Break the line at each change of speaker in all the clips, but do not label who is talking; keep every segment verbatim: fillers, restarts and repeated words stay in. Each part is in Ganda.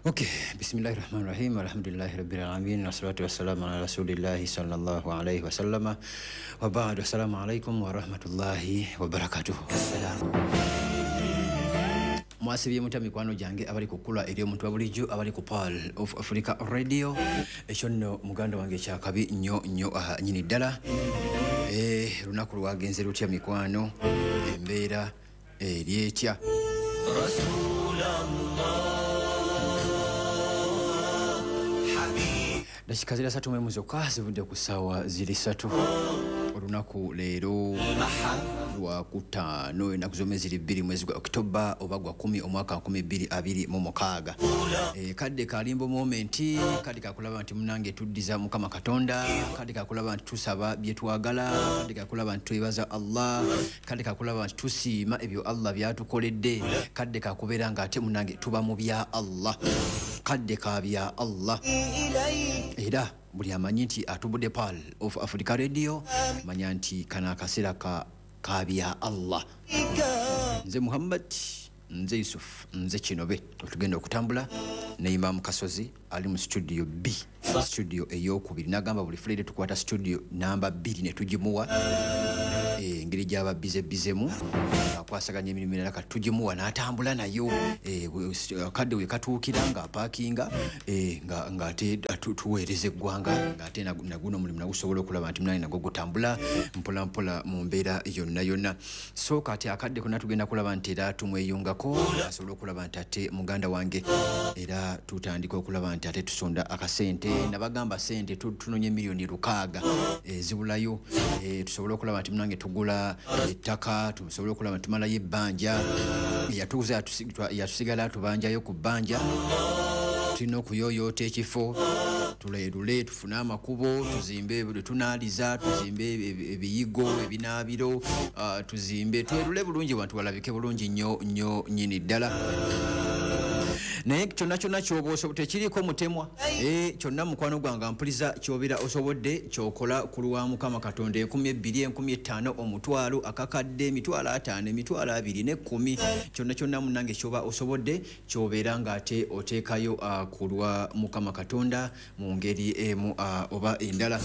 Okay, bismillahirrahmanirrahim. Alhamdulillahi rabbil alamin. Wassalatu wassalamu ala rasulillahi sallallahu alayhi wasallama. Wa ba'du. Assalamu alaikum wa rahmatullahi wa barakatuh. Mwasibye mutya mikwano gyange abali ku kkula eri omuntu wa bulijjo, abali ku Pearl of Africa Radio. Ekyo nno muganda wange kyakabi nnyo nnyo aha nnyini ddala. Eh, lunaku lwagenze lutya mikwano, embeera eri etya? Dakika ziri asatu mu emu zokka zivudde ku ssaawa ziri ssatu. Olunaku leero lwakutaano, ennaku z'omwezi ziri bbiri mwezi gwa Okitoba oba gwa kumi omwaka nkumi bbiri abiri mu mukaaga. E, kadde kalimbo momenti, kadde kakulaba nti munange tuddiza Mukama Katonda, kadde kakulaba nti tusaba bye twagala, kadde kakulaba nti twebaza Allah, kadde kakulaba nti tusiima ebyo Allah byatukoledde, kadde kakubeera nga ate munange tuba mu bya Allah, kadde ka bya Allah. Era buli amanyi nti atubudde Pearl of Africa Radio, manya nti kano akaseera ka kabya Allah. Nze Muhammad, nze Yusuf, nze Kinobe. Otugenda okutambula ne Imam Kasozi ali mu studio B, studio eyokubiri. Nagamba buli Friday tukwata studio namba bbiri ne tugimuwa. Eh, engeri gy'aba bize bizemu akwasaganya emirimu emirala kati tugimuwa n'atambula nayo. Eh, kadde we katuukira ng'apaakinga, eh, nga ng'ate tuweereza eggwanga, ng'ate naguno omulimu nagusobola okulaba nti munange nagwo gutambula mpola mpola mu mbeera yonna yonna. So kati akadde konna tugenda kulaba nti era tumweyungako asobole okulaba nti ate muganda wange, era tutandika okulaba nti ate tusonda akasente. Nabagamba sente tunonye miliyoni lukaaga ezibulayo, eh, tusobole okulaba nti munange tugula ettaka, tusobole okulaba nti tumalayo ebbanja. Yatuuza yatusigala tubanjayo ku bbanja, tulina okuyooyoota ekifo, tuleerule tufune amakubo, tuzimbe bwe tunaaliza, tuzimbe ebiyigo, ebinaabiro, tuzimbe twerule bulungi wantu walabike bulungi nnyo nnyo nnyini ddala. Naye kyonna kyonna ky'oba osobola tekiriiko mutemwa. Eh, kyonna mukwano gwange mpuliza ky'obeera osobodde ky'okola ku lwa Mukama Katonda. Enkumi ebbiri, enkumi ttaano, omutwalo, akakadde, emitwalo ataano, emitwalo abiri n'ekkumi, kyonna kyonna munnange ky'oba osobodde ky'obeera ng'ate oteekayo uh, ku lwa Mukama Katonda mu ngeri emu uh, oba endala.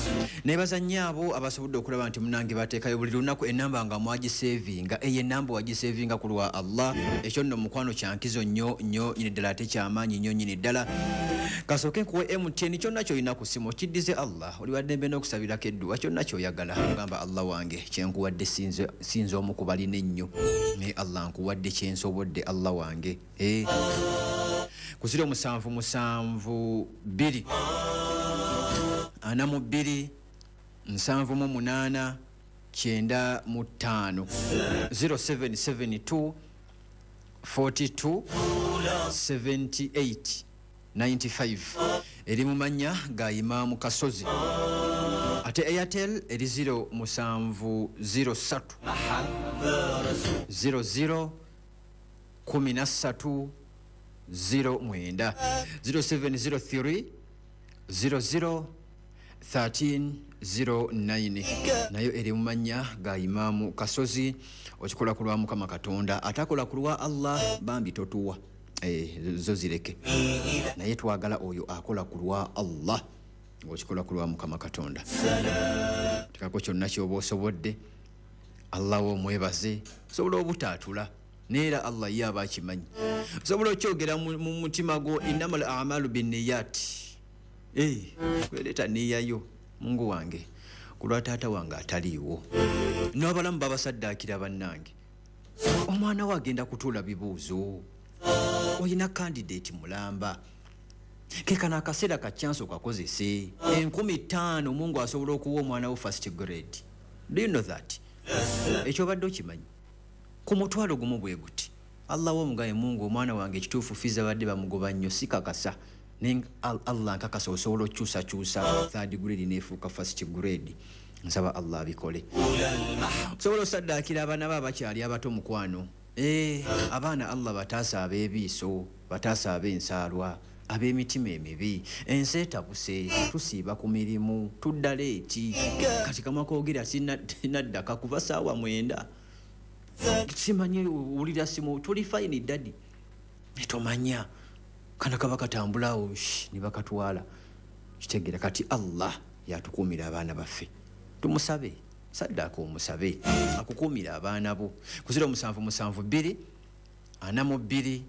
Neebaza nnyo abo abasobodde okulaba nti munnange bateekayo buli lunaku ennamba nga mwagiseevinga. Eyo ennamba wagiseevinga ku lwa Allah. Ekyo nno mukwano kyankizo nnyo nnyo nnyini ddala ate kyamaanyi nnyo nnyini ddala. Kasooke nkuwe M T N kyonna ky'olina ku ssimu okiddize Allah. Oli wa ddembe n'okusabirako edduwa kyonna ky'oyagala. Ogamba Allah wange kyenkuwadde sinze sinze omu ku balina ennyo, naye Allah nkuwadde kyensobodde Allah wange. Eh, ku ziro musanvu musanvu bbiri ana mu bbiri nsanvu mu munaana kyenda mu ttaano, zero seven seven two forty two seventy eight ninety five. Eri mu mannya ga Imaamu Kasozi. Ate Airtel eri zero musanvu zero ssatu zero zero kumi na ssatu zero mwenda, zero seven zero three zero zero thirteen zero nine. Nayo eri mu mannya ga Imaamu Kasozi. Okikola ku lwa Mukama Katonda, atakola ku lwa Allah bambi totuwa. Eh, zo zireke. Naye twagala oyo akola ku lwa Allah, okikola ku lwa Mukama Katonda. Tekako kyonna ky'oba osobodde, Allah wo omwebaze. Osobola obutaatula, neera Allah ye aba akimanyi. Osobola okyogera mu mutima gwo, innamal a'malu binniyat. Eh, kweleeta nniya yo, Mungu wange, ku lwa taata wange ataliiwo. N'abalamu babasaddaakira bannange. Omwana we agenda kutuula bibuuzo. Oyina candidate mulamba. Ke kano akaseera ka chance okakozese. Enkumi ttaano Mungu asobola okuwa omwana wo first grade. Do you know that? Ekyo obadde okimanyi? Ku mutwalo gumu bwe guti. Allah wo omugaye Mungu omwana wange ekituufu fiza badde bamugoba nnyo sikakasa. Naye Allah nkakasa osobola okyusakyusa third grade n'efuuka first grade. Nsaba Allah abikole. Osobola osaddaakira abaana bo abakyali abato mukwano. Eh, abaana Allah bataasa ab'ebiiso, bataasa ab'ensaalwa, ab'emitima emibi. Ensi etabuse, tusiiba ku mirimu, tudda leeti. Kati kamwa koogera sinaddaka kuva ssaawa mwenda. Simanyi wulira simu, tuli fine daddy. Tomanya. Kana kaba katambulawo ne bakatwala. Kitegeera kati Allah yatukuumira abaana baffe. Tumusabe, saddaaka omusabe akukuumira abaana bo. Ku ziro musanvu musanvu bbiri ana mu bbiri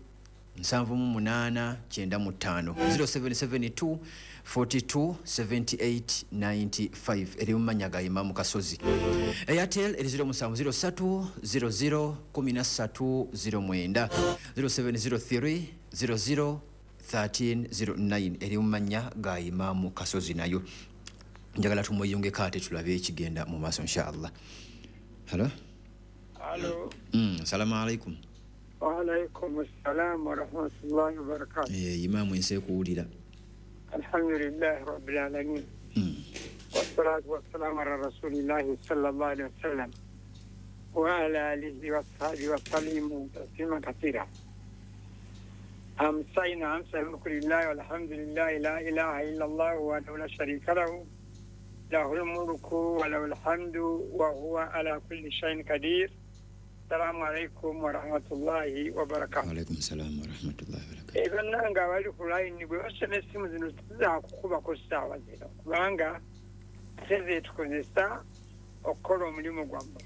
nsanvu mu munaana kyenda mu ttaano zero seven seven two forty two seventy eight ninety five eri mu mannya ga Imamu Kasozi. Airtel eri ziro musanvu ziro ssatu ziro ziro kumi na ssatu ziro mwenda zero seven zero three zero zero thirteen zero nine eri mu mannya ga Imamu Kasozi nayo. Njagala tumweyungeko ate tulabe ekigenda mu maaso inshallah. Hello?
Hello.
Mm, salamu alaikum.
Wa alaikum assalam wa rahmatullahi wa barakatuh.
Eh, Imamu ensi kuwulira.
Alhamdulillahi rabbil alamin.
Mm.
Wassalatu wassalamu ala rasulillahi sallallahu alaihi wasallam wa ala alihi wa sahbihi wa sallimu taslima kathira. Amsayna amsa alhamdulillahi walhamdulillahi la ilaha illa Allah wahdahu la sharika lahu lahul mulku wa lahul hamdu wa huwa ala kulli shay'in qadir. Assalamu alaikum wa rahmatullahi wa barakatuh.
Wa alaikum salam wa rahmatullahi wa barakatuh.
Eh, bannange abali ku line bwe basoma essimu zino tuzakukubako ssaawa zino kubanga ate tukozesa okukola omulimu gwammwe.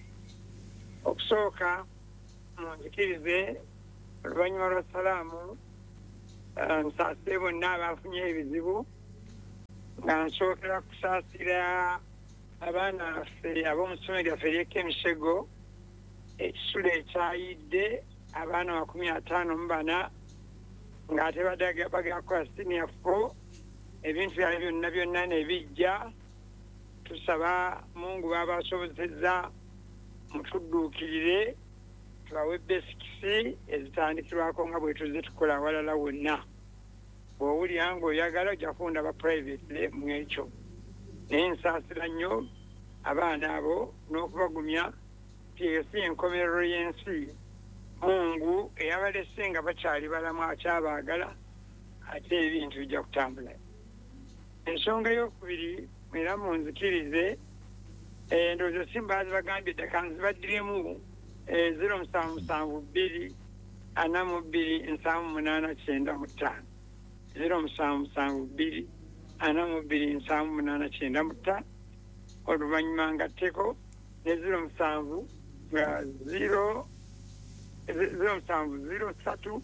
Okusooka munzikirize oluvannyuma lwa salaamu nsaasire bonna abafunye ebizibu nga nsookera kusaasira abaana baffe ab'omu ssomero lyaffe ery'e Emisego ekisulo ekyayidde abaana makumi ataano mu bana ng'ate bagenda kukola senior four ebintu byabwe byonna byonna ne bijja. Tusaba Mungu baabasobozezza mutudduukirire tubawe basics ezitandikirwako nga bwe tuzze tukola awalala wonna. Bw'owulira ng'oyagala ojja kundaba private mu ekyo. Naye nsaasira nnyo abaana abo n'okubagumya nti eyo si enkomerero y'ensi. Mungu eyabalese nga bakyali balamu akyabaagala ate ebintu bijja kutambula. Ensonga ey'okubiri era munzikirize endowooza si mbaazi bagambye ddaka nzibaddiremu ziro musanvu musanvu bbiri ana mu bbiri nsanvu munaana kyenda mu ttaano ziro musanvu musanvu bbiri ana mu bbiri nsanvu munaana kyenda mu ttaano oluvannyuma ngatteko ne ziro musanvu nga ziro ziro musanvu ziro ssatu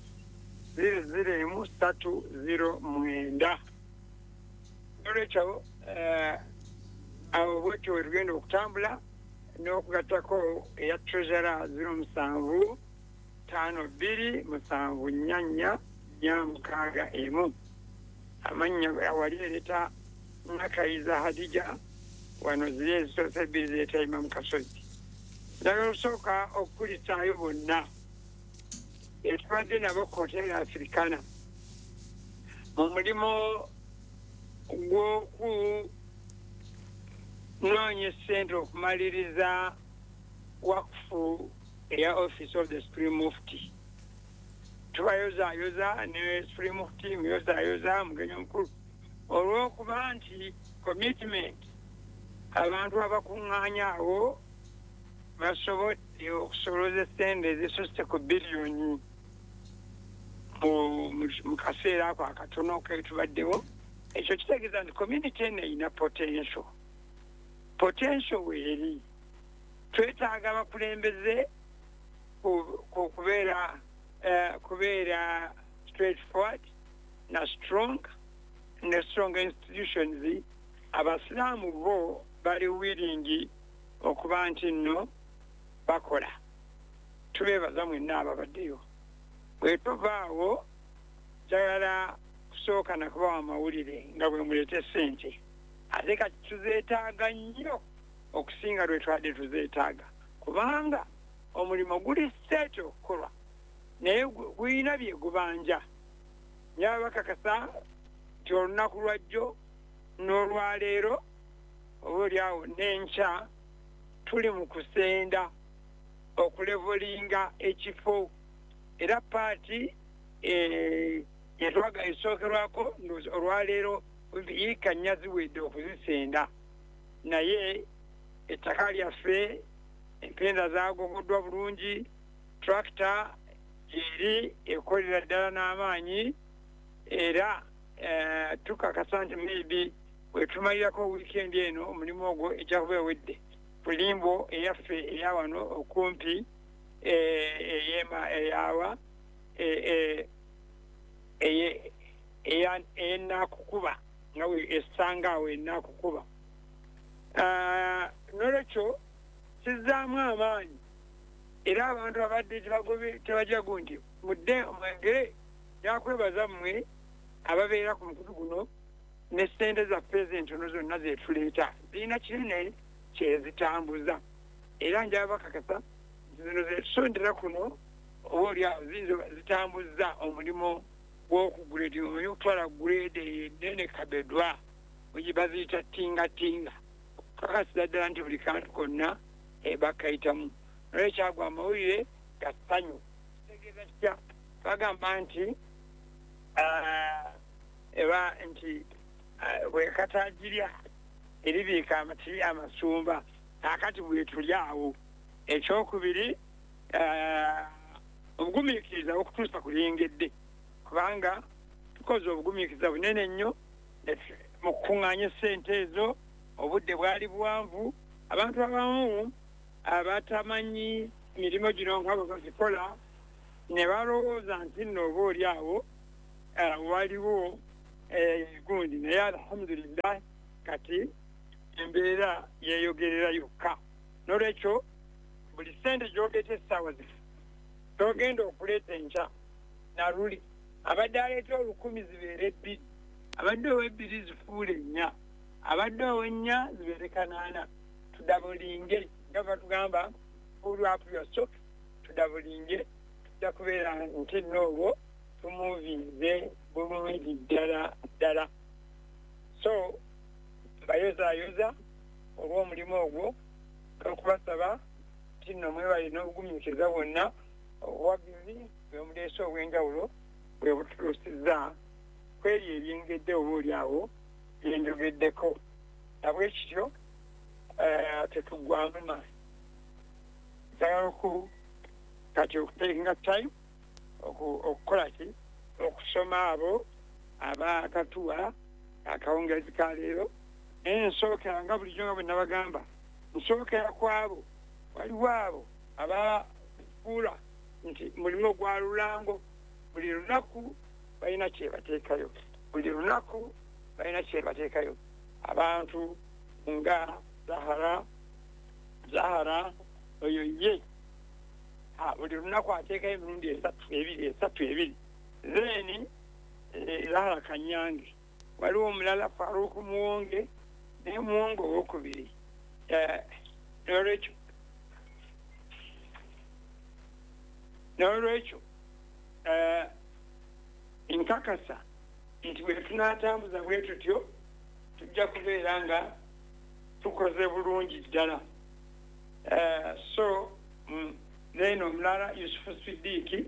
ziro ziro emu ssatu ziro mwenda. Olwekyo awo bwetyo we tugenda okutambula n'okugattako eya treasurer ziro musanvu ttaano bbiri musanvu nnya nnya nnya mukaaga emu. Amannya awali ereeta Nakayiza Hadija wano ziri ezisoose ebbiri zireeta Imamu Kasozi. Njagala okusooka okukulisaayo bonna etubadde nabo ku Hotel Africana mu mulimu gw'okunoonya essente okumaliriza wakufu eya Office of the Supreme Mufti. Tubayozaayoza ne Supreme Mufti muyozaayoza mugenyi omukulu olw'okuba nti commitment abantu abakuŋŋaanya awo basobodde okusolooza essente ezisusse ku biliyoni mu kaseera ako akatono ketubaddewo. Ekyo kitegeeza nti community eno erina potential. Potential weeri twetaaga abakulembeze kubeera kubeera straightforward na strong ne strong institutions. Abasiraamu bo bali willing okuba nti nno bakola. Tubeebaza mwenna ababaddeyo. Bwe tuvaawo njagala kusooka na kubawa amawulire nga bwe muleeta essente ate kati tuzeetaaga nnyo okusinga lwe twadde tuzeetaaga kubanga omulimu guli set okukolwa naye gulina bye gubanja. Njaba bakakasa nti olunaku lwajjo n'olwaleero oba oliawo n'enkya tuli mu kusenda okulevolinga ekifo era paati yetwaga esookerwako olwaleero yiika nnya ziwedde okuzisenda naye ettaka lyaffe empenda zaagogoddwa bulungi, tractor eri ekolera ddala n'amaanyi Era eh, tukakasa nti maybe bwetumalirako wiikendi eno omulimu ogwo ejja kuba ewedde ku limbo eyaffe eyawano okumpi eyema eyawa enakukuba nga esanga awo enakukuba. Nolwekyo kizzaamu amaanyi era abantu abadde tebajagu nti mudde mwengere yakwebaza mmwe ababeera ku mukutu guno ne ssente zaffe ezentono zonna zetuleeta zirina kinene kyezitambuza. Era njaba bakakasa zino zetusondera kuno oba oliawo ziyinza zitambuza omulimu gw'okuguredi, omanyi okutwala guredi enene kabedwa baziyita tingatinga okukakasiza ddala nti buli kantu konna bakayitamu. Nolwekyagwa amawulire ga ssanyu. Kitegeeza kitya? Bagamba nti eba nti bwekatagirya eribiika amati amasumba akati bwetuli awo. Ekyokubiri, obugumiikiriza okutuusa ku lyengedde, kubanga tukoze obugumiikiriza bunene nnyo mu kukuŋŋaanya essente ezo. Obudde bwali buwanvu, abantu abamu abatamanyi mirimu gino nga bwe bazikola ne balowooza nti nno oba oli awo waliwo gundi, naye alhamdulillah kati embeera yeeyogerera yokka. Nolwekyo buli ssente gy'oleeta essaawa zino togenda okuleeta enkya naluli abadde aleeta olukumi zibeere ebbiri, abadde ow'ebbiri zifuule nnya, abadde ow'ennya zibeere kanaana. Tudabulinge nga batugamba pull up your socks, tudabulinge tujja kubeera nti nno obwo tumuvinze bulungi ddala ddala. So mbayozaayoza olw'omulimu ogwo okubasaba nti nno mwebale n'obugumiikiriza bwonna, obuwagizi bwe muleese obw'enjawulo bwe bututuusizza kweri ebyengedde oba oli awo byenjogeddeko. Nabwekityo tetuggwamu maanyi. Njagala oku kati okutekinga time okukola ki okusoma abo abakatuwa akawungeezi ka leero. Naye nsookera nga bulijjo nga bwe nabagamba, nsookera ku abo waliwo abo abafuula nti mulimu gwa lulango, buli lunaku balina kyebateekayo, buli lunaku balina kyebateekayo. Abantu nga Zahara, Zahara oyo ye buli lunaku ateekayo emirundi esatu ebiri esatu ebiri. Then Zahara Kanyange, waliwo omulala Faruku Muwonge naye Muwonge owokubiri. Nolwekyo nolwekyo nkakasa nti bwe tunaatambuza bwe tutyo tujja kubeera nga tukoze bulungi ddala. So then omulala Yusufu Sidiiki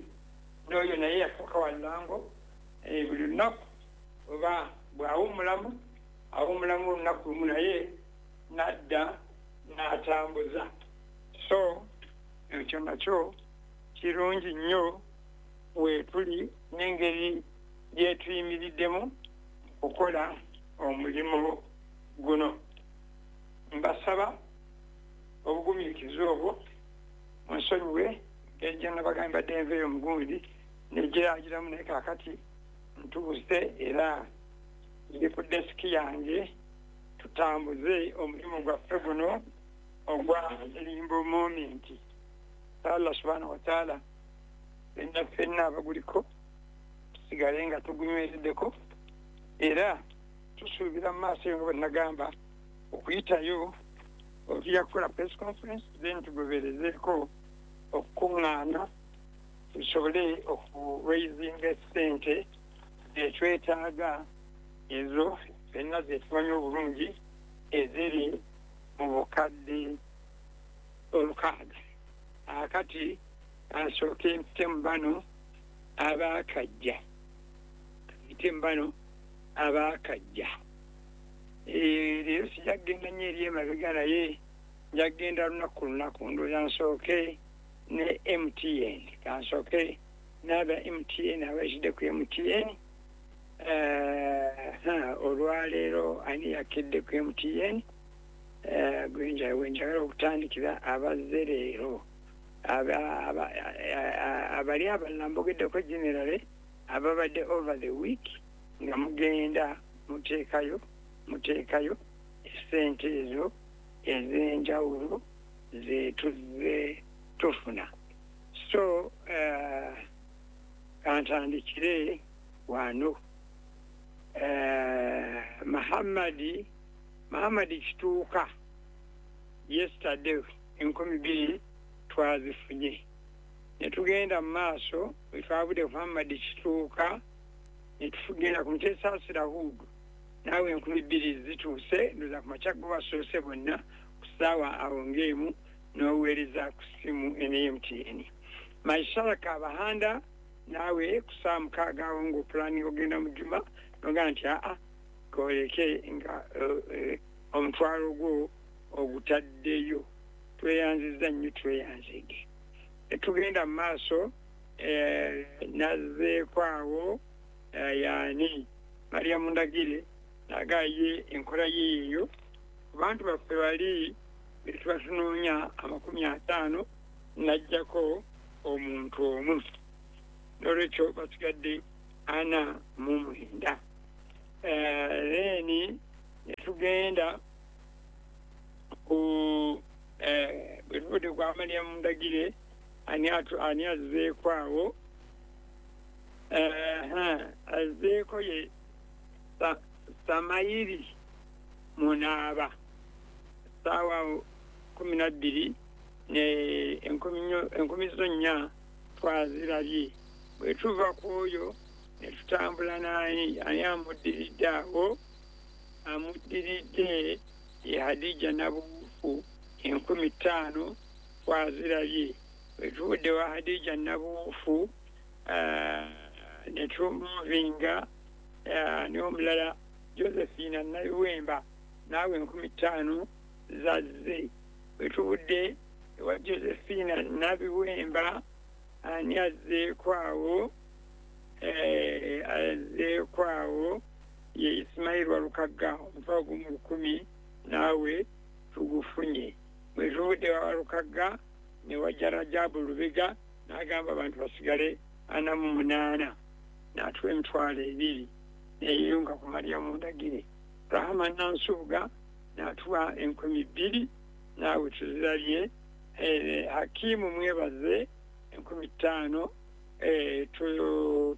n'oyo naye yafuuka wa lulango buli lunaku oba bw'awummulamu awummulamu olunaku lumu naye n'adda n'atambuza. So ekyo nakyo kirungi nnyo weetuli n'engeri gyetuyimiriddemu okukola omulimu guno. Mbasaba obugumiikiriza obwo munsonyiwe ejja nabagamba mbadde nveeyo omugundi negiragiramu, naye kaakati ntuuse era ndi ku desiki yange tutambuze omulimu gwaffe guno ogwa limbo moment. Allah subhanahu wa ta'ala fenna fenna abaguliko tusigale nga tugunywereddeko, era tusuubira mu maaso eyo nga bwe nagamba okuyitayo tujja kukola press conference, then tugoberezeeko okukuŋŋaana tusobole okuraisinga essente zetwetaaga ezo fenna zetumanyi obulungi eziri mu bukadde olukaaga. Akati asooke mpite mu bano abaakajja, mpite mu bano abaakajja. Leero sijja kugenda nnyo eri emabega, naye nja kugenda lunaku lunaku. Ndowooza nsooke ne M T N, kansooke n'aba M T N abayitidde ku M T N. Olwaleero ani yakedde ku M T N? Gwenjagala okutandikira abazze leero abali abalala mbogeddeko generally ababadde over the week nga mugenda muteekayo muteekayo essente ezo ez'enjawulo zetuzze tufuna. So kantandikire wano. Mahamadi Mahamadi Kituuka yesterday enkumi bbiri twazifunye. Ne tugenda mu maaso bwe twavudde ku Mahamadi Kituuka ne tugenda ku Mutesaasira Hudu, naawe enkumi bbiri zituuse, ndowooza ku makya go basoose bonna ku ssaawa awo ng'emu n'oweereza ku ssimu ene M T N. Maisara Kabahanda naawe ku ssaawa mukaaga awo ng'opulaninga ogenda mu Juma n'ogamba nti aa koleke nga omutwalo gwo ogutaddeyo. Tweyanzizza nnyo, tweyanzige. Tugenda mu maaso, nazzeeko awo yaani Mariam Ndagire nagaye enkola ye eyo. Abantu baffe bali betuba tunoonya amakumi ataano n'ajjako omuntu omu, n'olwekyo basigadde ana mu mwenda. Then ne tugenda ku bwe tuvudde kwa Mariam Ndagire ani ani azzeeko awo, azzeeko ye Samayiri Munaaba ssaawa kumi na bbiri ne enkumi zo nnya twazirabye. Bwe tuva ku oyo ne tutambula n'ani ani amuddiridde awo, amuddiridde ye Hadija Nabuufu enkumi ttaano twazirabye. Bwe tuvudde wa Hadija Nabuufu ne tumuvinga n'omulala Josephine Naluwemba naawe enkumi ttaano zazze. Bwe tuvudde ewa Josephine Nabiwemba ani azzeeko awo, azzeeko awo ye Ismail Walukagga omutwalo gumu lukumi naawe tugufunye. Bwe tuvudde wa Walukagga ne wajja Rajabu Lubega n'agamba abantu basigale ana mu munaana n'atuwa emitwalo ebiri neyeyunga ku Mariam Ndagire. Rahama Nansubuga n'atuwa enkumi bbiri naawe tuzirabye. Hakimu Mwebaze enkumi ttaano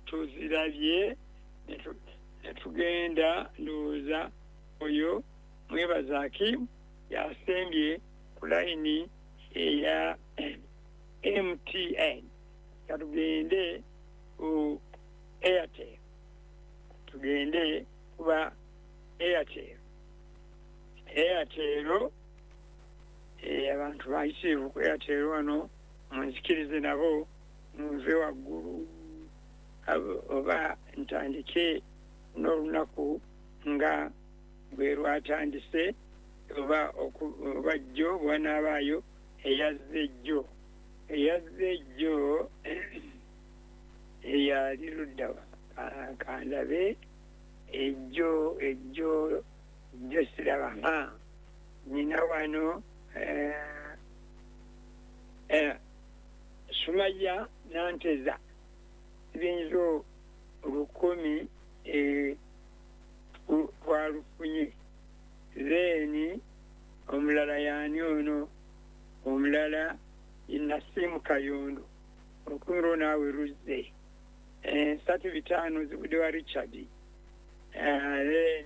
tuzirabye. Ne tugenda ndowooza oyo Mwebaze Hakimu yasembye ku layini eya M T N. Katugende ku Airtel, tugende kuba Airtel. Airtel abantu bayisiivu ku Airtel wano munzikirize nabo munve waggulu oba ntandike n'olunaku nga bwe lwatandise oba oba jjo bw'anaabaayo eyazze jjo eyazze jjo eyali luddawa kandabe ejjo ejjo jjo siraba. Nina wano Sumaya Nanteza sibinzo lukumi twalufunye. Then omulala yaani ono omulala Nasimu Kayondo olukumi lwo naawe luzze. Ensatu bitaano zivudde wa Richard. Then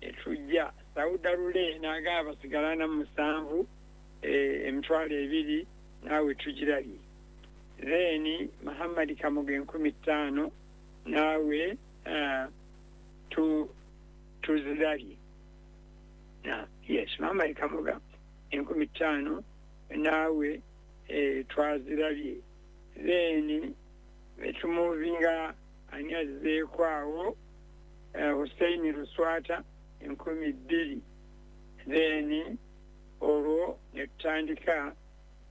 ne tujja Sauda Lule n'agamba basigala na musanvu emitwalo ebiri naawe tugirabye. Then Muhammad Kamuga enkumi ttaano naawe tuzirabye. Yes, Muhammad Kamuga enkumi ttaano naawe twazirabye. Then tumuvinga ani azzeeko awo Hussein Luswata enkumi bbiri. Then olwo ne tutandika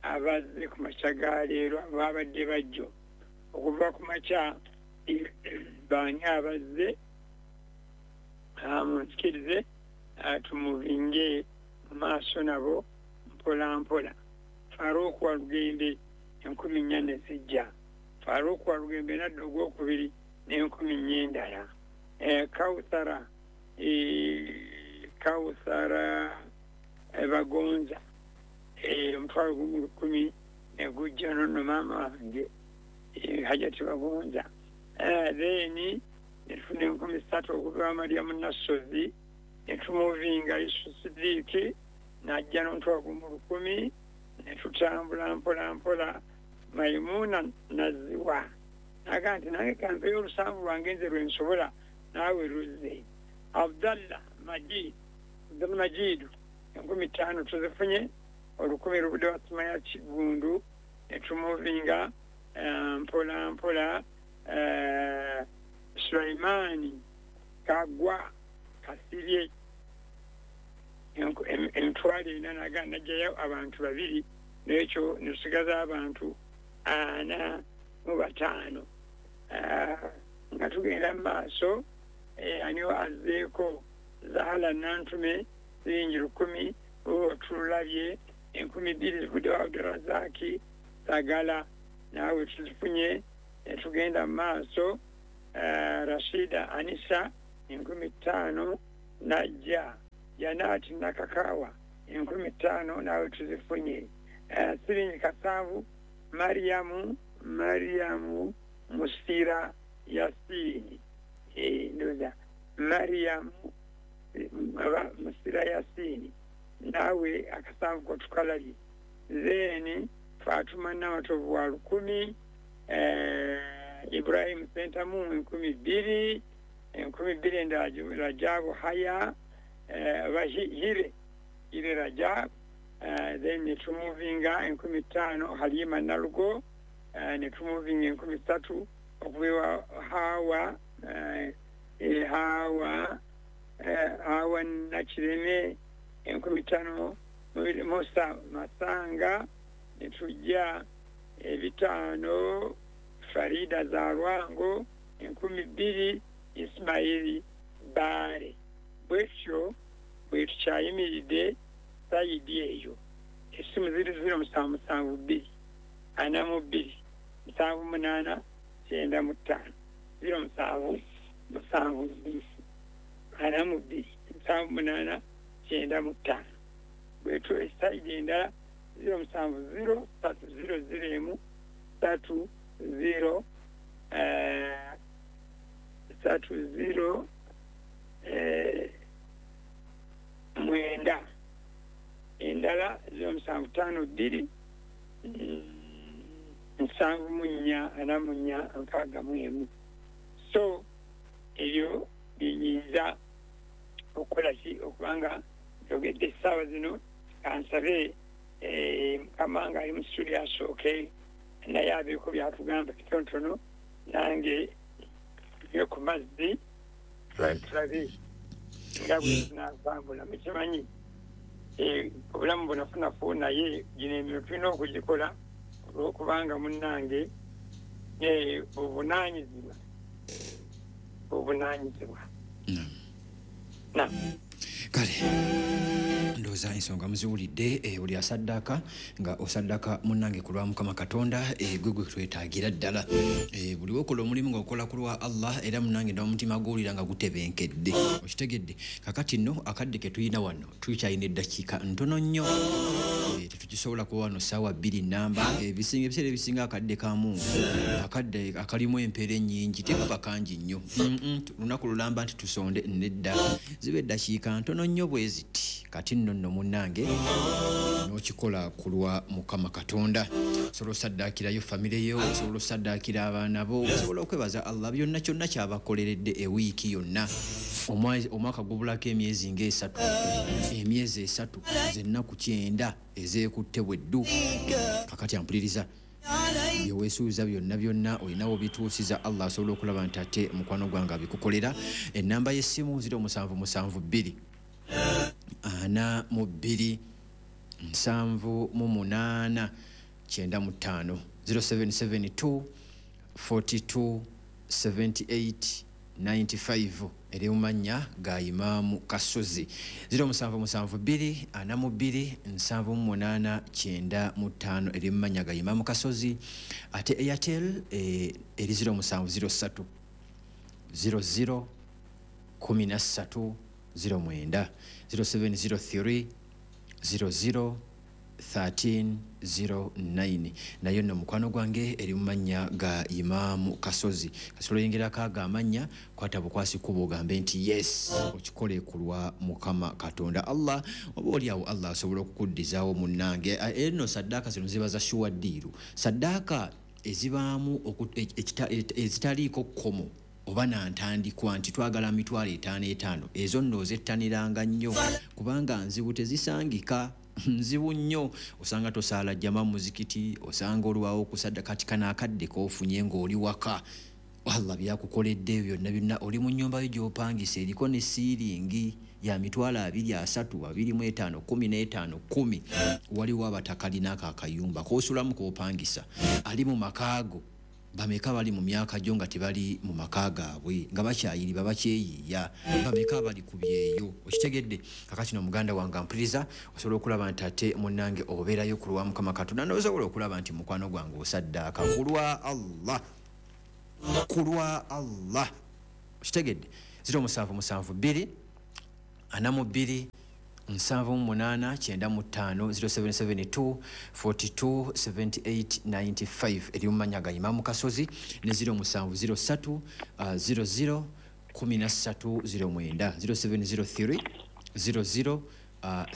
abazze ku makya ga leero ababadde bajjo okuva ku makya baani abazze. Munsikirize tumuvinge mu maaso nabo mpola mpola. Farouk Walugembe enkumi nnya ne zijja. Farouk Walugembe nadda ogwokubiri n'enkumi nnya endala. Kauthara Kauthara Bagonza omutwalo gumu lukumi ne gujja nonno maama wange Hajati Bagonza. Then ne tufuna enkumi ssatu okuva wa Mariamu Nassozi ne tumuvinga Yusufu Sidiiki n'ajja n'omutwalo gumu lukumi ne tutambula mpola mpola. Maimuna Naziwa naga nti nange kampeyo olusanvu lwange nze lwe nsobola naawe luzze. Abdallah Majid Abdallah Majidu enkumi ttaano tuzifunye, olukumi lubudde wa Sumaya Kigundu ne tumuvinga mpola mpola. Sulaimani Kagwa Kasirye emitwalo ena naga najjayo abantu babiri n'ekyo ne tusigaza abantu ana mu bataano. Nga tugenda mu maaso, ani azzeeko Zahala Nantume siringi lukumi tulabye enkumi bbiri zivudde wa Abdulrazaki Sagala naawe tuzifunye. Ne tugenda mu maaso, Rashida Anisa enkumi ttaano najja. Janati Nakakawa enkumi ttaano naawe tuzifunye. Siringi kasanvu Mariamu Mariamu Musira Yasini ndowooza Mariamu Musira Yasini naawe akasanvu ko tukalabye. Then Fatuma Namatovu wa lukumi, Ibrahim Sentamu enkumi bbiri, enkumi bbiri endala Rajabu Haya Hire Hire Rajabu. Then ne tumuvinga enkumi ttaano Halima Nalugo, ne tumuvinga enkumi ssatu okuva ewa Hawa Hawa Hawa Nakireme enkumi ttaano Musa Masanga, ne tujja ebitaano Farida Zalwango enkumi bbiri Ismaili Baale. Bwetyo bwe tukyayimiridde sayidi eyo. Essimu ziri ziro musanvu musanvu bbiri ana mu bbiri musanvu munaana kyenda mu ttaano ziro musanvu musanvu bbiri ana mu bbiri musanvu munaana kyenda mu ttaano. Bwetyo esayidi endala ziro musanvu ziro ssatu ziro ziro emu ssatu ziro ssatu ziro mwenda. Endala ziro musanvu ttaano bbiri nsanvu mu nnya ana mu nnya nkaaga mu emu. So ebyo biyinza okukola ki okubanga njogedde essaawa zino. Kansabe Mukama nga ali mu studio asooke naye abeeko byatugamba kitonotono, nange nywe ku mazzi tulabe nga bwe tunaatambula. Mukimanyi obulamu bunafunafu, naye gino emirimu tulina okugikola olw'okubanga munnange obuvunaanyizibwa obuvunaanyizibwa.
Kale ndowooza ensonga muziwulidde. Buli asaddaaka nga osaddaaka munnange ku lwa Mukama Katonda, gwe gwe twetaagira ddala. Buli wokola omulimu ng'okola ku lwa Allah, era munnange n'omutima guwulira nga gutebenkedde, okitegedde. Kakati nno akadde ke tulina wano tukyalina eddakiika ntono nnyo, tetukisobola kuba wano ssaawa bbiri namba. Ebisinga ebiseera ebisinga akadde kamu akadde akalimu empeera ennyingi tekaba kangi nnyo, lunaku lulamba nti tusonde nedda, ziba eddakiika ntono nnyo bwe ziti. Kati nno nno munnange n'okikola ku lwa Mukama Katonda. Osobola osaddaakirayo famire yo, osobola osaddaakira abaana bo, osobola okwebaza Allah byonna kyonna kyabakoleredde ewiiki yonna. Omwaka gubulako emyezi ng'esatu, emyezi esatu zennaku kyenda ezeekutte bweddu. Kakati ampuliriza, byeweesuuza byonna byonna olinawo bituusiza, Allah asobola okulaba nti ate mukwano gwange abikukolera. Ennamba y'essimu ziro musanvu musanvu bbiri ana mu bbiri nsanvu mu munaana kyenda mu ttaano zero seven seven two forty two seventy eight ninety-five eri mu mannya ga Imaamu Kasozi. Zero musanvu musanvu bbiri ana mu bbiri nsanvu mu munaana kyenda mu ttaano eri mu mannya ga Imaamu Kasozi. Ate Airtel eh, eri zero musanvu zero ssatu zero zero kumi na ssatu zero mwenda zero seven zero three zero zero thirteen zero nine. Nayo nno mukwano gwange eri mu mannya ga Imaamu Kasozi. Kasolo yingira kaaga amannya kwata bukwasi kuba ogambe nti yes okikole ku lwa Mukama Katonda Allah, oba oli awo Allah asobola okukuddizaawo munnange. Eno saddaaka zino ziba za shuwa ddiiru, saddaaka ezibaamu ezitaliiko kkomo oba nantandikwa nti twagala mitwalo etaano etaano, ezo nno ozettaniranga nnyo kubanga nzibu tezisangika, nzibu nnyo. Osanga tosaala jjama muzikiti, osanga olwawo okusadda kati kano akadde k'ofunye ng'oli waka, Allah byakukoledde byonna byonna, oli mu nnyumba yo gy'opangisa eriko ne siiringi ya mitwalo abiri asatu abiri mu etaano kkumi n'etaano kkumi. Waliwo abatakalina ako akayumba k'osulamu k'opangisa, ali mu makaago bameka bali mu myaka gyo nga tebali mu maka gaabwe nga bakyayiriba bakyeyiiya, bameka bali ku byeyo. Okitegedde? Kakati no muganda wange ampuliriza, osobola okulaba nti ate munnange obeerayo ku lwa Mukama Katonda, n'osobola okulaba nti mukwano gwange osaddaaka ku lwa Allah, ku lwa Allah. Okitegedde? Zero musanvu musanvu bbiri ana mu bbiri nsanvu mu munaana kyenda mu ttaano zero seven seven two forty two seventy eight ninety five eri mu mannya ga Imaamu Kasozi ne zero musanvu zero ssatu zero zero kumi na ssatu zero mwenda zero seven zero three zero zero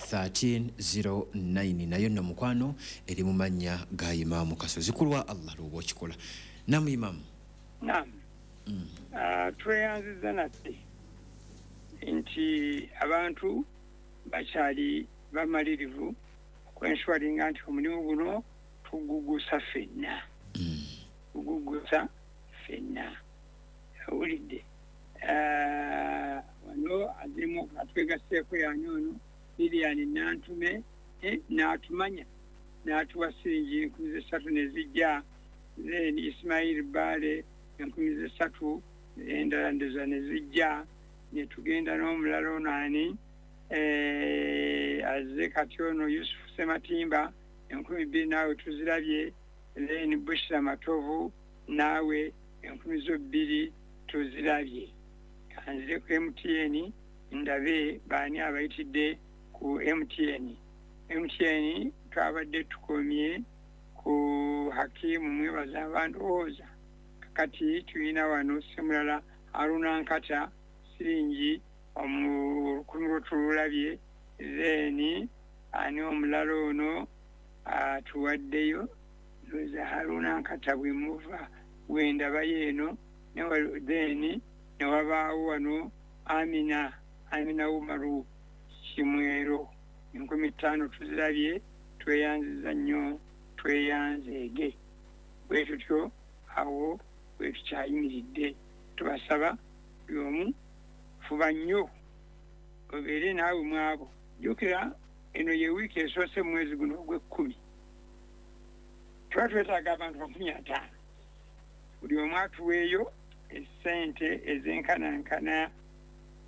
thirteen zero nine. Nayo nno mukwano eri mu mannya ga Imaamu Kasozi ku lwa Allah lw'oba okikola. Namu Imaamu.
Naam. Tweyanziza nate nti abantu bakyali bamalirivu okwenshuwaringa nti omulimu guno tugugusa ffenna, tugugusa ffenna. Owulidde? Wano azirimu atwegasseeko yani ono Lilian Nantume n'atumanya n'atuwa siringi enkumi z'essatu ne zijja, then Ismail Bale enkumi z'essatu endala ndoza ne zijja, ne tugenda n'omulala ono ani azze kati ono Yusuf Sematimba enkumi bbiri naawe tuzirabye, then Bushra Matovu naawe enkumi zo bbiri tuzirabye. Kanzire ku M T N ndabe baani abayitidde ku M T N. M T N twabadde tukomye ku Hakimu mwebaza abandowooza. Kakati tulina wano Ssemulala Haruna Nkata siringi olukumi lwo tululabye, then ani omulala ono atuwaddeyo ndoza Haruna Nkata bwe muva bwendabayo eno, then ne wabaawo wano Amina Amina Umaru Kimwero enkumi ttaano tuzirabye, tweyanziza nnyo tweyanzeege. Bwe tutyo awo bwe tukyayimiridde, tubasaba buli omu fuba nnyo obeere naawe mwabo. Jjukira eno ye wiiki esoose mu mwezi guno ogw'ekkumi, tuba twetaaga abantu makumi ataano, buli omu atuweeyo essente ezenkanankana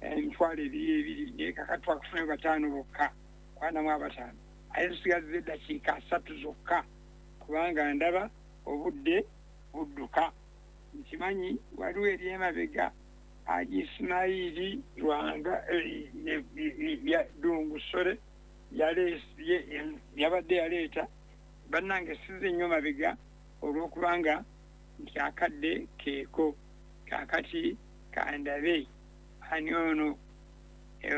emitwalo ebiri ebiri, naye kakati twakufunayo bataano bokka, kwanamu abataano, aye tusigazza eddakiika asatu zokka kubanga ndaba obudde budduka. Nkimanyi waliwo eri emabega Haji Ismaili Lwanga Ddungu Ssole yabadde yaleeta bannange sizze nnyo mabega olw'okubanga nti akadde keeko. Kaakati kandabe ani ono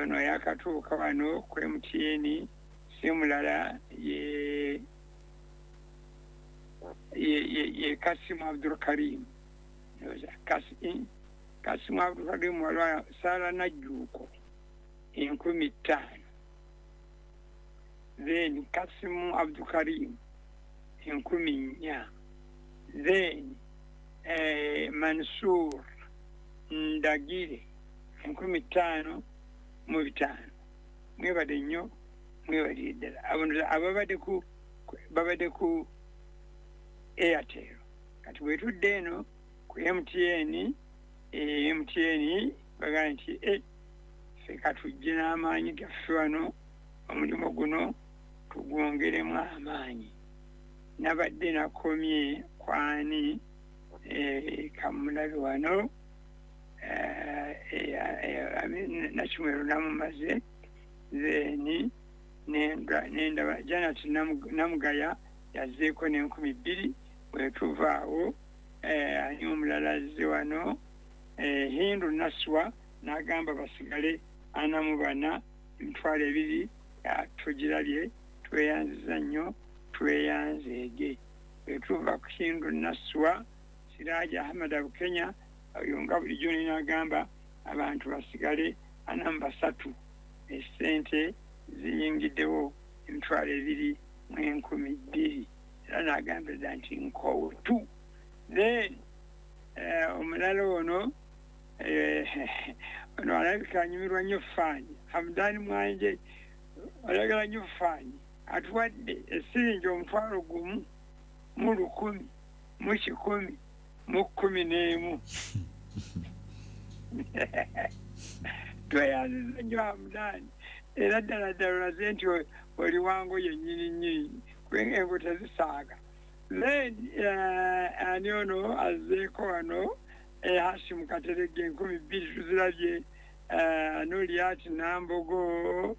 ono yakatuuka wano ku M T N, si mulala ye ye ye Kasimu Abdul Karim. Kasimu Abdul Karim waliwo Sara Najjuuko enkumi ttaano, then Kasimu Abdul Karim enkumi nnya, then eh, Mansur Ndagire enkumi ttaano mu bitaano. Mwebale nnyo, mwebalire ddala. Ababadde ku babadde ku Airtel. Kati bwe tudde eno ku M T N M T N bagamba nti e ffe katujje n'amaanyi gaffe wano, omulimu guno tugwongeremu amaanyi. Nabadde nakomye kwani kamulabe wano Nakimwero namumaze, then nendaba Janet Namugaya yazzeeko n'enkumi bbiri. Bwetuvaawo ani omulala azze wano, Hindu Naswa n'agamba basigale ana mu bana, emitwalo ebiri tugirabye, tweyanziza nnyo, tweyanzeege. Bwetuva ku Hindu Naswa, Siraji Ahmad Abukenya oyo nga bulijjo n'agamba abantu basigale ana mu basatu, essente ziyingiddewo emitwalo ebiri mu enkumi bbiri, era n'agamba dda nti nkootu. Then omulala ono ono alabika anyumirwa nnyo faanyi, Hamdani Mwanje ayagala nnyo faanyi, atuwadde esiringi omutwalo gumu mu lukumi mu kikumi mu kkumi n'emu. Tweyanziza nnyo Hamdani, era ddala ddala olaze nti oli wango yennyini nnyini, kubanga engo tezisaaga. Then ani ono azzeeko wano, Hashim Katerege enkumi bbiri tuzirabye, Noliat Nambogo